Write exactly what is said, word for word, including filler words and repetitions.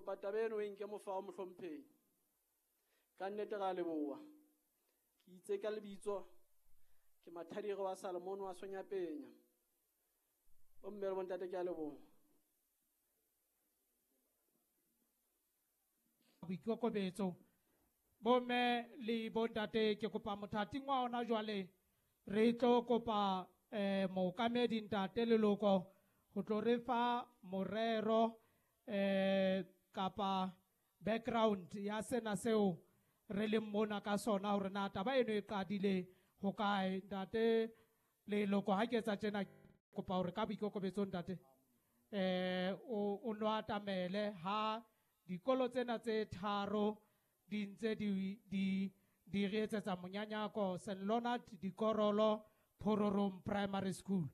Kopa taba eno e nke mofao mohlomphehi. Ka nnete ra leboha. Ke itse ka lebitso ke Mathadiro wa Salomon wa Sonyapenya. Bomme le bontate ke a leboha. Boikokobetso. Bomme le bontate ke kopa mothating wa hona jwale re tlo kopa eh mookamedi ntate Leloko ho tlo re fa morero eh kapa background ya sena seo re leng mona ka sona hore na taba eno e qadile ho kae. Ntate Leloko ha ke etsa tjena kopa hore ka boikokobetso ntate eh o o no atamele ha dikolo tsena tse tharo di ntse di di di re etsetsa monyanyako Saint Leonard Dikorolo Phororong Primary School.